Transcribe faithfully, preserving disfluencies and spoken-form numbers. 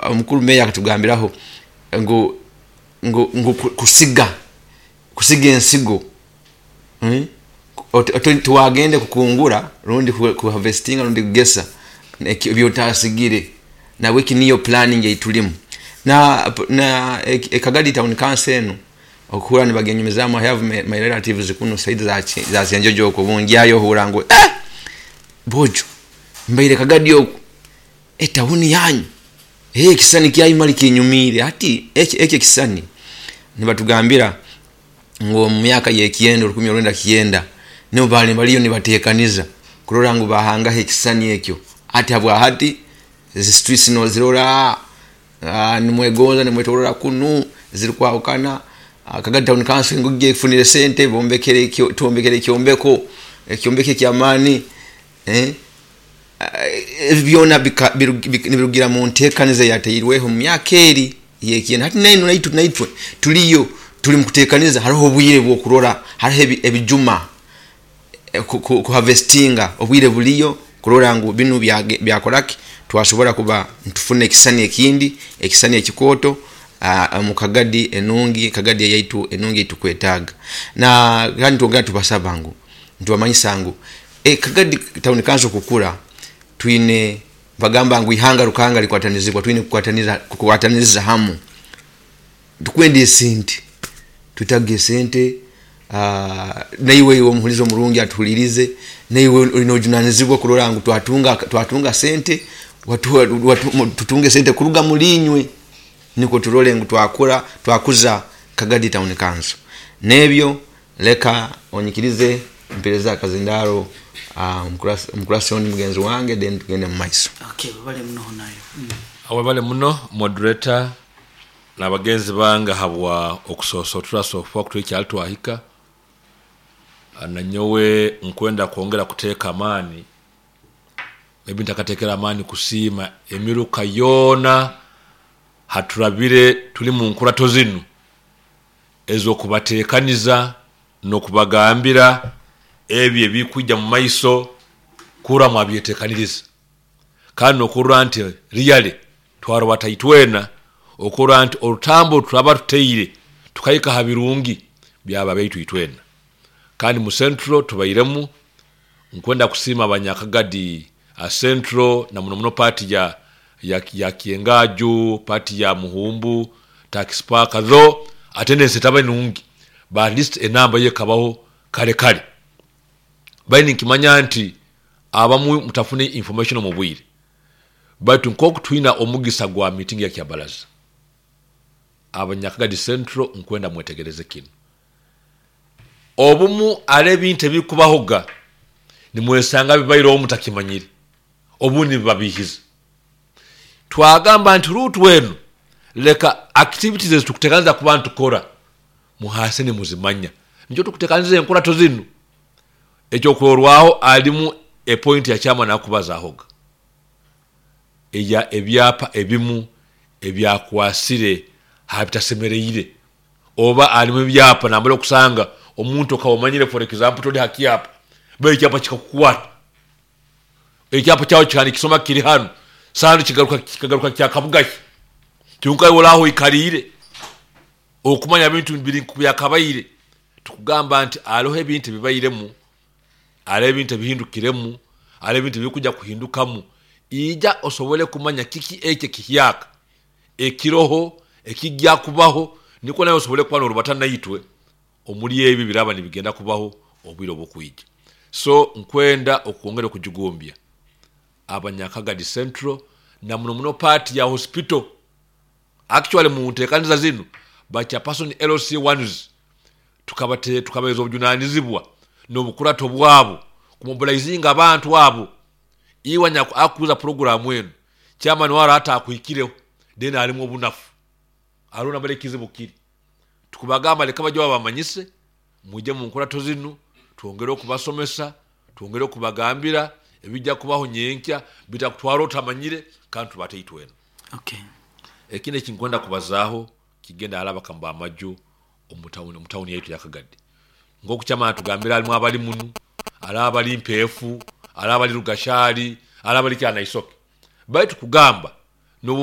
Omukuru meya akatugambiraho ngu ngu, ngu ku- kusiga kusiga ensigo, Hmm? Ot- ot- tiwagende kukungura rundi ku- kuharvestinga rundi kugesa eki- ebyotasigire. Nabweki niyo planning eitulimu na na e- ekagadi Town Council enu okuhura nibagenyumizamu. I have my, my relatives kuno side za Ki- za Kyenjojo okwo, bungyayo ohura ngu eh, bojo mbaire Kagadi oku etawuni yanyu, eh, ekisani kyayimali kinyumiire. Hati eki eki ekisani nibatugambira ngu omu myaka yekyenda, orukumi orwenda kyenda, nibo bali baliyo nibatekaniza kurora ngu bahangaho ekisani ekyo. Hati habwa hati ezi streets nozirora, ah, nimwegonza nimwetorora kunu zirikwahukana. Ah, Kagadi Town Council ngugi efunire sente, bombekere ekyo- twombekere ekyombeko ekyombeko ekyamaani, eh? Ebi byona bika- biru- bik- nibirugira mu ntekaniza eyateirweho mu myaka eri yekyenda. Hati nainu naitu naitwe tuliyo tuli mukutekaniza. Hariho obwire bwokurora, hariho ebi- ebijuma, eh, ku- ku- kuharvestinga, obwire buliyo kurora ngu binu byage- byakoraki, twasobora kuba ntufuna ekisani ekindi, ekisani ekikooto ah, mu Kagadi enungi, Kagadi eyaitu enungi eitukwetaaga. Na kandi twongera tubasaba ngu ntubamanyisa ngu e, Kagadi Town Council kukura, twine bagamba ngu ihanga rukanga likwatanizibwa, twine kukwataniza kukwataniriza hamu. Tukwenda esente, twetaga esente. ah, naiwe iwe omuhulizi omurungi atuhulirize, naiwe olina ojunanizibwa kurora ngu twatunga twatunga sente, watu, watu, mu- tutunge sente kuruga mulinywe, niko turole ngu twakura, twakuza Kagadi Town Council. Nebyo leka onyikirize mpereza akazindaro uh, omukurasi ondi mugenzi wange, then tugende mu maiso. Okay, bale muno nayo mm. Awebale muno, moderator n'abagenzi bange, habwa okusosotura sofa kutwikyali twahika. Nanyowe nkwenda kwongera kuteeka amaani, maybe ntakateekera amaani kusiima emiruka yoona haturabire tuli mu nkurato zinu ez'okubateekaniza n'okubagambira ebyo ebikwijja mu maiso, kura mwabyetekaniriza, kandi nokurora nti really twarobata itwena okurora nti orutambo turaba tuteire tukahika ha birungi byaba baitu itwena. Kandi mu Central tubairemu, nkwenda kusiima abanyakagadi a Central, na muno muno part ya ya, ya Kyengaju, part ya Muhumbu, Tax Park, though attendance etaba nungi, but at least enamba yekabaho kale kale. Baini nkimanya nti abamu mutafune information omu bwire, baitu nkoku twina omugisa gwa meeting ya kyabalaza abanyakagadi Central, nkwenda mwetegereze kino. Obumu ari ebintu ebikubahoga nimwesanga bibaireho mutakimanyire, obundi bibabihiza. Twagamba nti route wenu, leka activities ezitukuteekaniza kuba ntukora muhase nimuzimanya, nikyo tukuteekaniza enkurato zinu. Ekyokurorwaho alimu epoint ya kyama nakubazahoga eya ebyapa ebimu ebyakwasire habitasemereire, oba alimu ebyapa nambere okusanga omuntu okaba omanyire, for example, toli hakyapa, ba ekyapa kikakukwata, ekyapa kyawe kikandi kisoma kiri hano sandi, kigaruka kikagaruka kyakabugaki, kyonka iwe oraho oikariire okumanya bintu biri byakabaire. Tukugamba nti hariho ebintu ebibairemu, hariho ebintu ebihindukiremu, hariho ebintu ebikujja kuhindukamu. Ija osobole kumanya kiki ekyo ekihyaka ekiroho ekijja kubaho, niko nawe osobole kuba norubata naitwe omuri ebi biraba nibigenda kubaho obwire obukwija. So nkwenda okwongera okujugumbya abanyakagadi Central, na muno muno part ya hospital. Actually, mu nteekaniza zinu ba chairperson L C ones tukabate tukabaza obujunanizibwa n'obukurato bwabo kumobilizinga abantu abo. Iwe nyaku akuza programu enu, chairman wara hata akuhikireho, then alimu obunafu alona bale kizibu kiri. Tukubagamba leka bajya babamanyise, mujye mu nkurato zinu, twongere okubasomesa, twongere okubagambira ebijja kubaho nyenkya, bitakutwara otamanyire, kandi tubate itwena. Okay. Ekindi ekinkwenda kubazaaho kigenda alaba kamba amaju omutawuni omutawuni yaitu yakagadi, nkoku kyamana tugambira, alimu abali munu, ali abali mpeefu, ali abali Rugashari, ali abali Kyanaisoke, baitu kugamba nobu